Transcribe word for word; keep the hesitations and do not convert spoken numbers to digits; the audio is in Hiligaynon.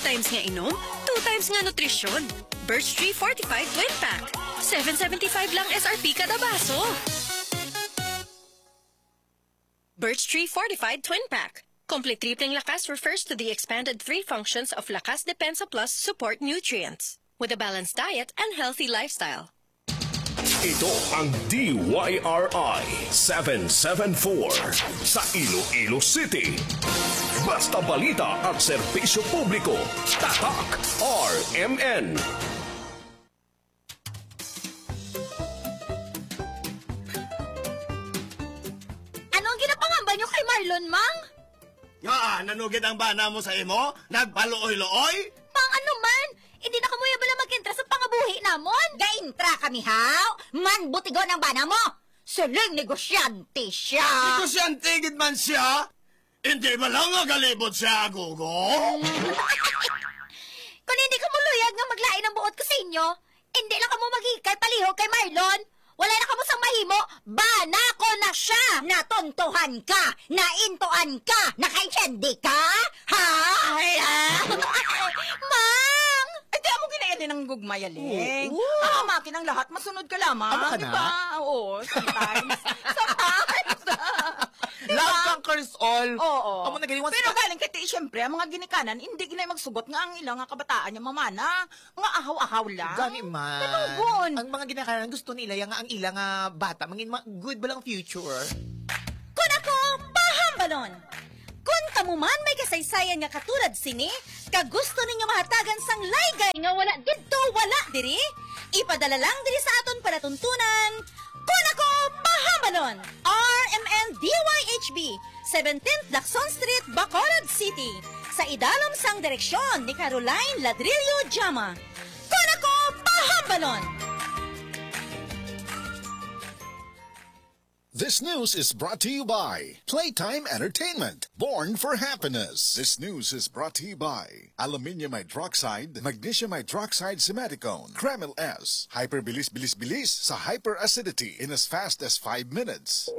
Times nga inom, two times nga nutrisyon. Birch Tree Fortified Twin Pack. Seven seventy-five lang S R P kada baso. Birch Tree Fortified Twin Pack. Complete Tripling Lakas refers to the expanded three functions of Lakas Depensa Plus support nutrients with a balanced diet and healthy lifestyle. Ito ang D Y R I seven seven four sa Iloilo City. Basta balita at serbisyo publiko, Tatak R M N. Ano ang ginapangamba nyo kay Marlon, Mang? Nga, nanugid ang bana mo sa imo? Nagpaluoy-luoy? Mang, ano man? Hindi na kamo bala mag-intra sa pangabuhi namon? Ga-intra kami, haw? Man, butigon ang bana mo! Siling negosyante siya! Negosyante gid man siya? Hindi ba lang nga galibot siya, Gogo? Kung hindi kamo luyag nga maglain ang buot ko sa inyo, hindi lang kamo maghikay palihog kay Marlon. Wala na kamo sang mahimo, bana ko na siya! Natuntohan ka! Naintuan ka! Nakaintindi ka? Ha? Ay, ah. Mang! Ay, di amo ginaili ng gugmay, Aling. Oo. Ang amakin ang lahat, masunod ka lamang. Ama ka di na? Ba? Oo, sometimes. Sometimes. Di ba? Love conquers all. Oo. Amo na gani, once Pero na- galing kay ti, siyempre, ang mga ginikanan, hindi ginay magsugot nga ang ilang nga kabataan nga mamana, nga ahaw-ahaw lang. Gani man. Kanugon. Ang mga ginikanan gusto nila yang ang ila nga bata mangin ma- good ba lang future? Kun ako, pahambalon! Kun kamo man may kasaysayan nga katulad sini, kag gusto ninyo mahatagan sang laygay nga wala didto, wala diri, ipadala lang diri sa aton palatuntunan. Kun ako, pahambalon! R M N D Y H B, seventeenth Lacson Street, Bacolod City. Sa idalom sang direksyon ni Caroline Ladrillo Jama. Kun ako, pahambalon! This news is brought to you by Playtime Entertainment, born for happiness. This news is brought to you by Aluminium Hydroxide, Magnesium Hydroxide Simeticone, Kremel S, Hyper Bilis Bilis Bilis sa Hyper Acidity in as fast as five minutes.